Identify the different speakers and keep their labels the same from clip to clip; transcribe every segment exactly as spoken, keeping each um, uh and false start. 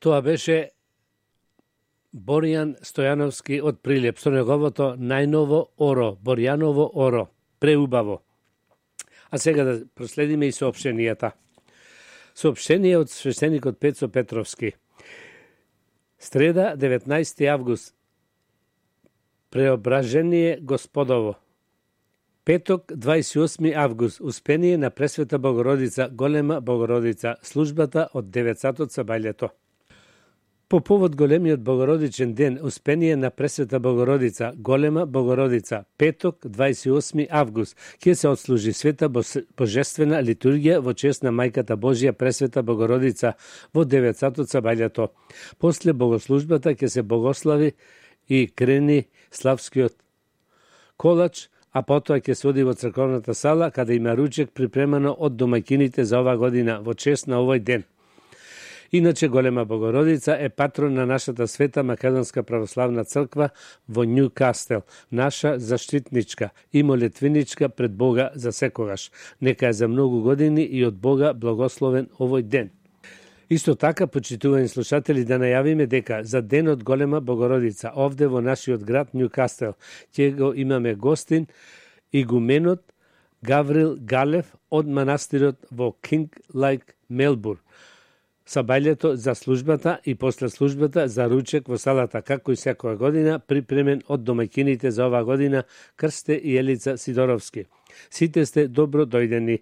Speaker 1: Тоа беше Боријан Стојановски од Прилеп со неговото најново Оро, Борјаново Оро, преубаво. А сега да проследиме и соопштенијата. Соопштение од свештеникот Пецо Петровски. Среда, деветнаесети август, Преображение Господово. Петок, дваесет и осми август, Успение на Пресвета Богородица, Голема Богородица, службата од девет сатот сабајлето. По повод големиот Богородичен ден, Успение на Пресвета Богородица, Голема Богородица, петок, дваесет и осми август, ќе се отслужи света божествена литургија во чест на Мајката Божја Пресвета Богородица во девет сатот сабајлето. После богослужбата ќе се богослави и крени славскиот колач, а потоа ќе се оди во црковната сала, каде има ручек припремано од домаќините за ова година, во чест на овој ден. Иначе Голема Богородица е патрон на нашата света Македонска православна црква во Њукастел, наша заштитничка и молитвеничка пред Бога за секогаш. Нека е за многу години и од Бога благословен овој ден. Исто така, почитувани слушатели, да најавиме дека за денот Голема Богородица овде во нашиот град Њукастел ќе го имаме гостин игуменот Гаврил Галев од манастирот во Кинг Лајк, Мелбурн. Сабајлето за службата и после службата за ручек во салата, како и секоја година, припремен од домаќините за оваа година Крсте и Елица Сидоровски. Сите сте добро дојдени.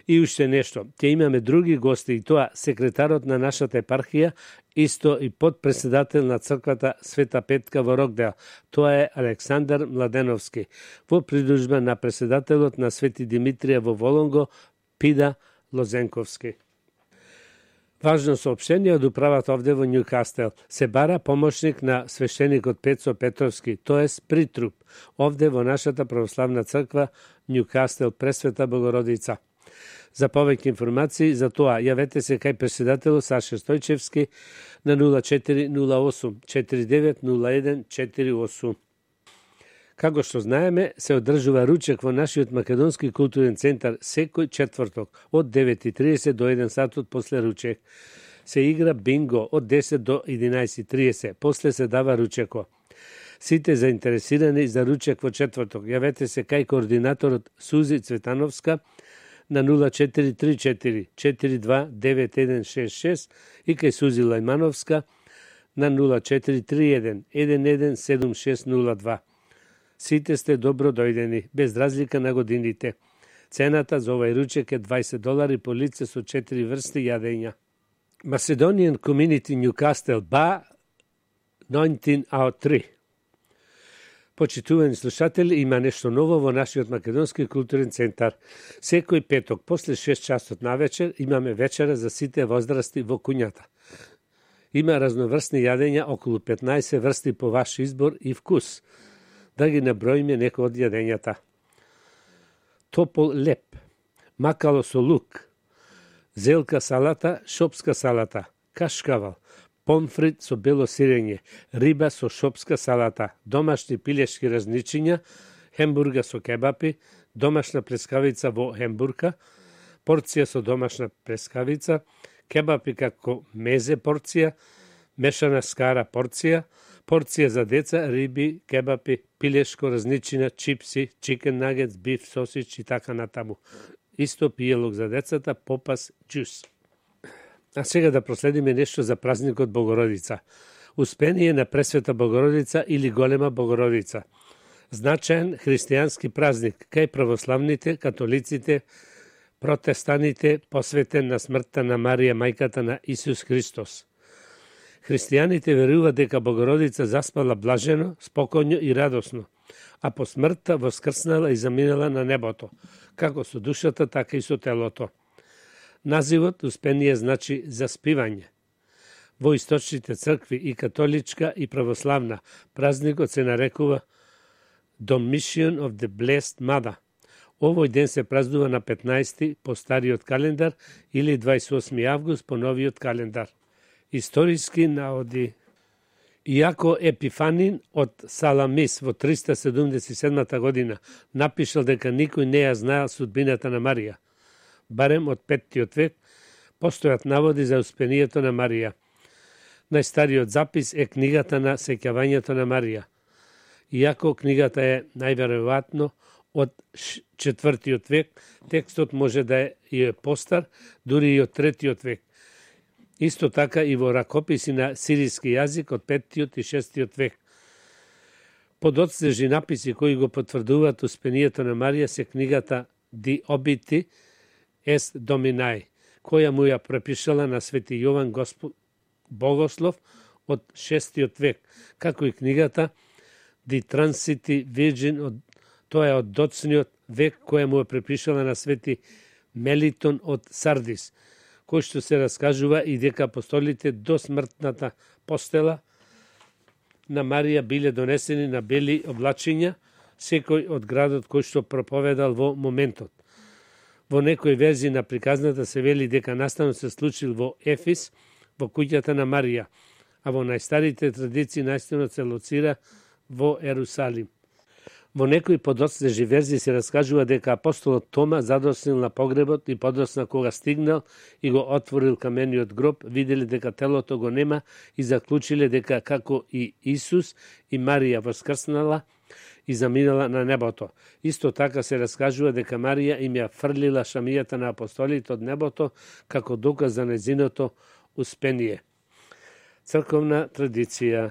Speaker 1: И уште нешто, ќе имаме други гости, и тоа секретарот на нашата епархија, исто и подпредседател на црквата Света Петка во Рокдел. Тоа е Александар Младеновски, во придружба на председателот на Свети Димитрија во Волонго, Пида Лозенковски. Важно соопштение од управата овде во Њукастел. Се бара помошник на свештеникот Пецо Петровски, тоест притруп, овде во нашата православна црква Њукастел Пресвета Богородица. За повеќе информации за тоа, јавете се кај председателот Саша Стојчевски на нула четири нула осум четири девет нула еден четири осум. Како што знаеме, се одржува ручек во нашиот Македонски културен центар секој четврток од девет и тридесет до еден сатот после ручек. Се игра бинго од десет до единаесет и тридесет, после се дава ручеко. Сите заинтересирани за ручек во четврток, јавете се кај координаторот Сузи Цветановска на нула четири три четири четири два девет еден шест шест и кај Сузи Лајмановска на нула четири три еден еден еден седум шест нула два. Сите сте добро дојдени, без разлика на годините. Цената за овај ручек е дваесет долари по лице со четири врсти јадења. Macedonian Community Newcastle Bar деветнаесет oh три. Почитувани слушатели, има нешто ново во нашиот Македонски културен центар. Секој петок после шест часот навечер имаме вечера за сите возрасти во куњата. Има разноврсни јадења, околу петнаесет врсти по ваш избор и вкус. Да ги наброиме некои од јадењата. Топол леп, макало со лук, зелка салата, шопска салата, кашкавал, помфрит со бело сирење, риба со шопска салата, домашни пилешки разничиња, хембурга со кебапи, домашна плескавица во хембурка, порција со домашна плескавица, кебапи како мезе порција, мешана скара порција, порција за деца, риби, кебапи, пилешко разничина, чипси, чикен нагетс, биф, сосич и така натаму. Исто пиелок за децата, попас, джус. А сега да проследиме нешто за празникот Богородица. Успение на Пресвета Богородица или Голема Богородица. Значаен христијански празник кај православните, католиците, протестаните, посветен на смртта на Марија, мајката на Исус Христос. Христијаните веруваат дека Богородица заспала блажено, спокојно и радосно, а по смртта воскрснала и заминала на небото, како со душата, така и со телото. Називот Успение значи заспивање. Во источните цркви и католичка и православна празникот се нарекува Domitian of the Blessed Mother. Овој ден се празнува на петнаесети по стариот календар или дваесет и осми август по новиот календар. Историски наоди. Иако Епифанин од Саламис во триста седумдесет и седма година напишал дека никој не ја знаел судбината на Марија, барем од петтиот век, постојат наводи за успението на Марија. Најстариот запис е книгата на сеќавањето на Марија. Иако книгата е најверојатно од четвртиот век, текстот може да е и е постар, дури и од третиот век. Исто така и во ракописи на сириски јазик од петтиот и шестиот век. Подоцнежни написи кои го потврдуваат успението на Марија се книгата Ди Обити Ест Доминај, која му ја препишала на свети Јован Госп... Богослов од шестиот век, како и книгата Ди Трансити Вирджин, од... тоа е од доцниот век, која му ја препишала на свети Мелитон од Сардис, кој што се раскажува и дека апостолите до смртната постела на Марија биле донесени на бели облачиња, секој од градот кој што проповедал во моментот. Во некои верзии на приказната се вели дека настанот се случил во Ефис, во куќата на Марија, а во најстарите традиции настанот се лоцира во Ерусалим. Во некои подоцнежни верзии се раскажува дека апостолот Тома задоснил на погребот и подосна кога стигнал и го отворил камениот гроб, виделе дека телото го нема и заклучиле дека како и Исус и Марија воскрснала и заминала на небото. Исто така се раскажува дека Марија им ја фрлила шамијата на апостолите од небото како доказ за нејзиното успение. Црковна традиција.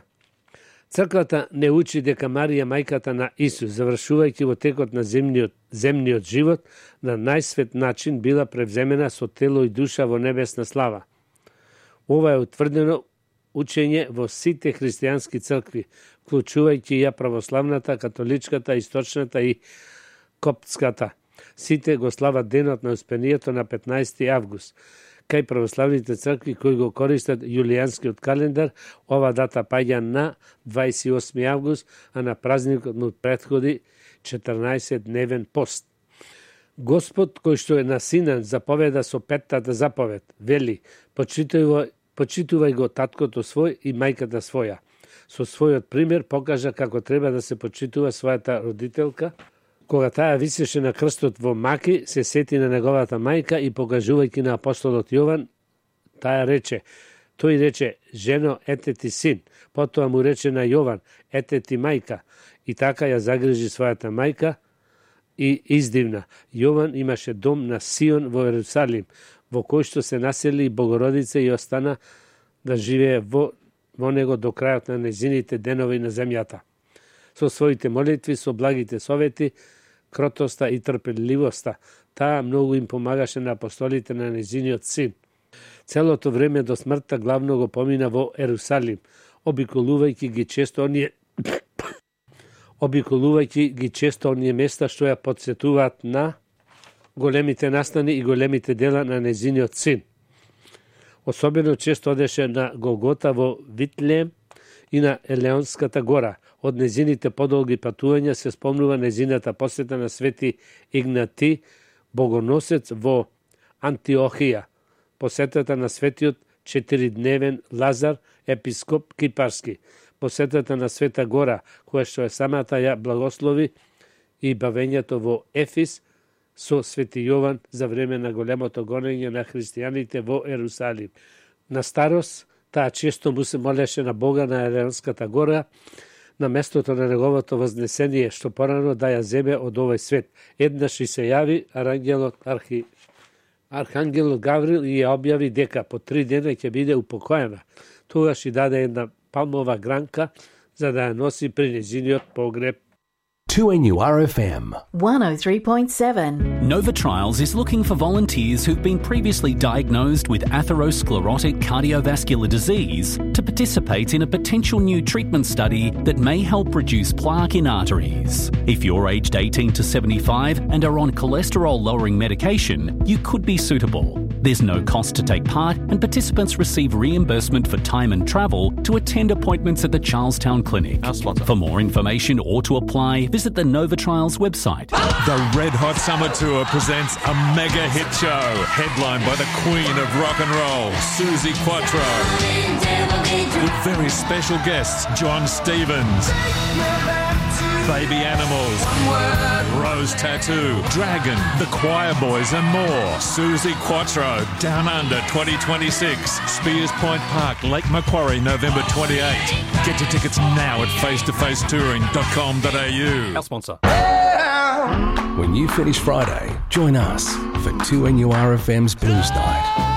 Speaker 1: Црквата не учи дека Марија мајката на Исус, завршувајќи во текот на земниот, земниот живот, на најсвет начин била превземена со тело и душа во небесна слава. Ова е утврдено учење во сите христијански цркви, вклучувајќи ја православната, католичката, источната и коптската. Сите го слават денот на успението на петнаесети август. Кај православните цркви кои го користат јулијанскиот календар, ова дата паѓа на дваесет и осми август, а на празникот му претходи четрнаесет дневен пост. Господ, кој што е на Синан, заповеда со петтата заповед, вели: почитувај, почитувај го таткото свој и мајката своја. Со својот пример покажа како треба да се почитува својата родителка. Кога таа висеше на крстот во Маки, се сети на неговата мајка и покажувајќи на апостолот Јован, таа рече, тој рече: жено, ете ти син. Потоа му рече на Јован: ете ти мајка. И така ја загрижи својата мајка и издивна. Јован имаше дом на Сион во Ерусалим, во кој што се насели Богородица и остана да живее во, во него до крајот на нејзините денови на земјата. Со своите молитви, со благите совети, кротоста и трпеливоста, таа многу им помагаше на апостолите на нејзиниот син. Целото време до смртта главно го помина во Ерусалим, обиколувајќи ги често оние обиколувајќи ги често оние места што ја потсетуваат на големите настани и големите дела на нејзиниот син. Особено често одеше на Голгота во Витлеем и на Елеонската гора. Од нејзините подолги патувања се спомнува нејзината посета на свети Игнати, богоносец во Антиохија, посетата на светиот четиридневен Лазар, епископ кипарски, посетата на Света гора, која што е самата ја благослови, и бавењето во Ефис со свети Јован за време на големото гонење на христијаните во Ерусалим. На старост, таа често му се молеше на Бога на Елеонската гора, на местото на неговото вознесение, што порано да ја земе од овој свет. Еднаш и се јави арангелот Архи... Архангелот Гаврил и ја објави дека по три дена ќе биде упокоена. Тогаш и даде една палмова гранка за да ја носи при нејзиниот погреб.
Speaker 2: two N U R F M
Speaker 3: one oh three point seven.
Speaker 4: Nova Trials is looking for volunteers who've been previously diagnosed with atherosclerotic cardiovascular disease to participate in a potential new treatment study that may help reduce plaque in arteries. If you're aged eighteen to seventy-five and are on cholesterol-lowering medication, you could be suitable. There's no cost to take part, and participants receive reimbursement for time and travel to attend appointments at the Charlestown Clinic. For more information or to apply, visit the Nova Trials website.
Speaker 5: The Red Hot Summer Tour presents a mega hit show, headlined by the Queen of Rock and Roll, Susie Quattro, with very special guests, John Stevens, Baby Animals, Rose Tattoo, Dragon, The Choir Boys and more. Susie Quattro, Down Under twenty twenty-six, Spears Point Park, Lake Macquarie, November twenty-eighth. Get your tickets now at face to face touring dot com dot a u.
Speaker 4: Our sponsor.
Speaker 2: When you finish Friday, join us for two N U R F M's Blues Night.